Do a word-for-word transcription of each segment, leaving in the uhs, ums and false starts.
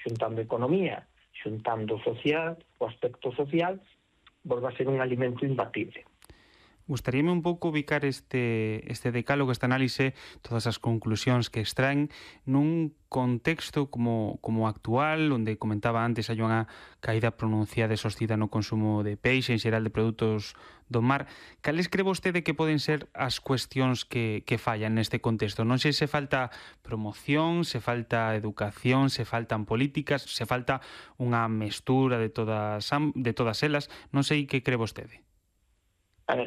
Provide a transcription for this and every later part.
xuntando economía, xuntando social, o aspecto social, volve a ser un alimento imbatible. Gustaríame un pouco ubicar este, este decálogo, este análise, todas as conclusións que extraen nun contexto como, como actual, onde comentaba antes hai unha caída pronunciada e sostida no consumo de peixe, en xeral de produtos do mar. Cales cree vostede que poden ser as cuestións que, que fallan neste contexto? Non sei se falta promoción, se falta educación, se faltan políticas, se falta unha mestura de todas, de todas elas. Non sei que cree vostede. Eh,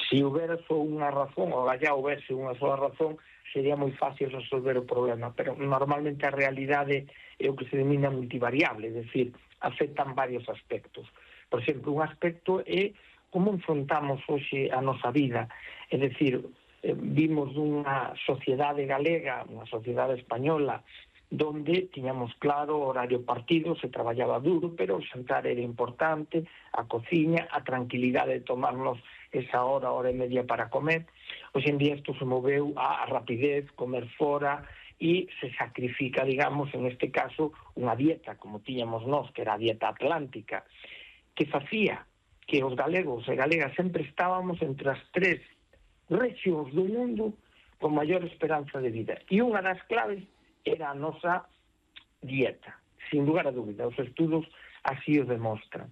se houbera só unha razón, ou allá houbese unha sola razón, sería moi fácil resolver o problema, pero normalmente a realidade é o que se denomina multivariable, é dicir, afectan varios aspectos. Por exemplo, un aspecto é como enfrontamos hoxe a nosa vida, é dicir, eh, vimos unha sociedade galega, unha sociedade española, donde tiñamos claro o horario partido, se traballaba duro, pero o xantar era importante, a cociña, a tranquilidade de tomarnos esa hora, hora e media para comer. Hoxe en día isto se moveu a rapidez, comer fora, e se sacrifica, digamos, en este caso, unha dieta, como tiñamos nós, que era a dieta atlántica, que facía que os galegos e galegas sempre estábamos entre as tres rexións do mundo con maior esperanza de vida. E unha das claves era a nosa dieta, sin lugar a dúbida. Os estudos así o demostran.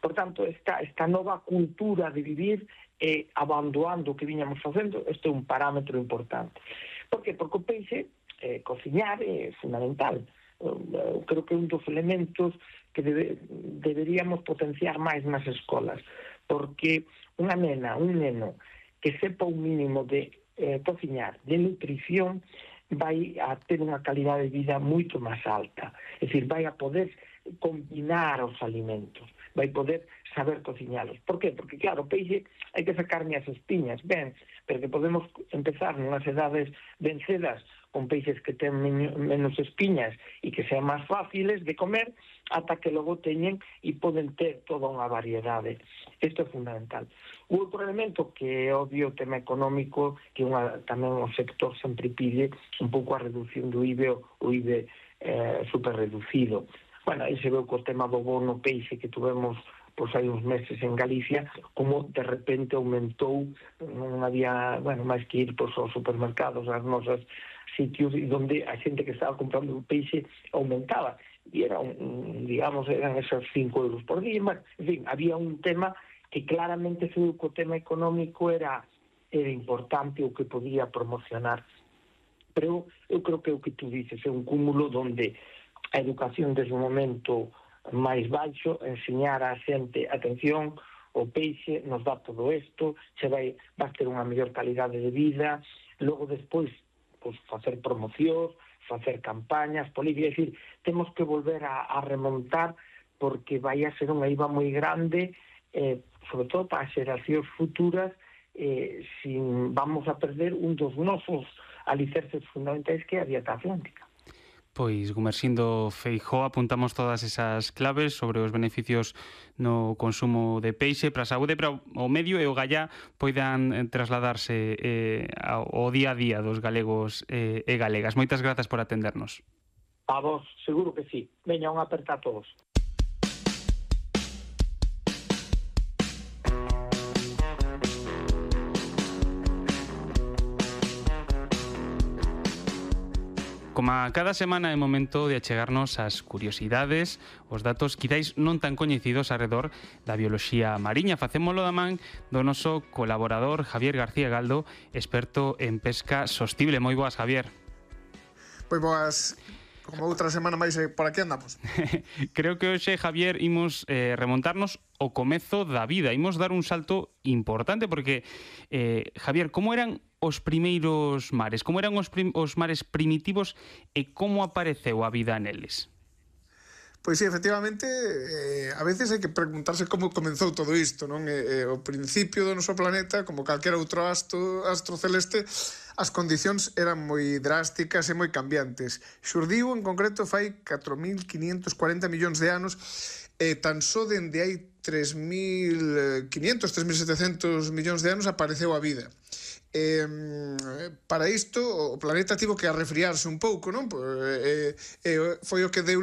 Por tanto, esta, esta nova cultura de vivir eh, abandonando o que viñamos facendo, este é un parámetro importante. Por que? Porque o peixe, eh, cociñar é fundamental. Eu creo que é un dos elementos que debe, deberíamos potenciar máis nas escolas, porque unha nena, un neno que sepa un mínimo de eh, cociñar, de nutrición, vai a ter unha calidade de vida moito máis alta. É dicir, vai a poder combinar os alimentos, vai poder saber cociñalos. Por qué? Porque, claro, o peixe hai que sacarme as espiñas, ben, pero que podemos empezar nunhas edades vencedas con peixes que ten menos espiñas e que sean máis fáciles de comer, ata que logo teñen e poden ter toda unha variedade. Isto é fundamental. O outro elemento que é obvio o tema económico, que unha, tamén o sector sempre pide un pouco a reducción do I V E, o I V E eh, super reducido. Bueno, aí se veu co tema do bono peixe que tuvemos pois hai uns meses en Galicia, como de repente aumentou, non había, bueno, máis que ir pois, aos supermercados, aos nosos sitios, e onde a xente que estaba comprando o peixe aumentaba, e era, un, digamos, eran esos cinco euros por día, mas, en fin, había un tema que claramente se o tema económico era, era importante o que podía promocionar. Pero eu creo que o que tú dices é un cúmulo donde a educación desde o momento máis baixo, enseñar a xente, atención, o peixe nos dá todo isto, se vai, vai ter unha mellor calidade de vida, logo despois, pois, facer promocións, facer campañas, políticas, é dicir, temos que volver a, a remontar, porque vai a ser unha I V A moi grande, eh, sobre todo para as xeracións futuras, eh, sin, vamos a perder un dos nosos alicerces fundamentais, que é a dieta atlántica. Pois, Gumersindo Feijóo, apuntamos todas esas claves sobre os beneficios no consumo de peixe para a saúde, para o medio e o gallá poidan trasladarse eh, ao día a día dos galegos eh, e galegas. Moitas grazas por atendernos. A vos, seguro que sí. Veña, un aperta a todos. Como a cada semana é momento de achegarnos as curiosidades, os datos quizáis non tan coñecidos arredor da bioloxía mariña. Facémolo da man do noso colaborador Javier García Galdo, experto en pesca sostible. Moi boas, Javier. Pois boas, como outra semana máis por aquí andamos. Creo que hoxe, Javier, imos eh, remontarnos ao comezo da vida. Imos dar un salto importante porque, eh, Javier, como eran os primeiros mares? Como eran os, prim os mares primitivos e como apareceu a vida neles? Pois sí, efectivamente, eh, a veces hai que preguntarse como comenzou todo isto, non? Eh, eh, o principio do noso planeta, como calquera outro astro, astro celeste, as condicións eran moi drásticas e moi cambiantes. Xurdiu, en concreto, fai catro mil quinientos cuarenta millóns de anos, e tan só dende hai tres mil quinientos, tres mil setecentos millóns de anos apareceu a vida. Eh, para isto o planeta tivo que arrefriarse un pouco, non? Eh, eh, foi o que deu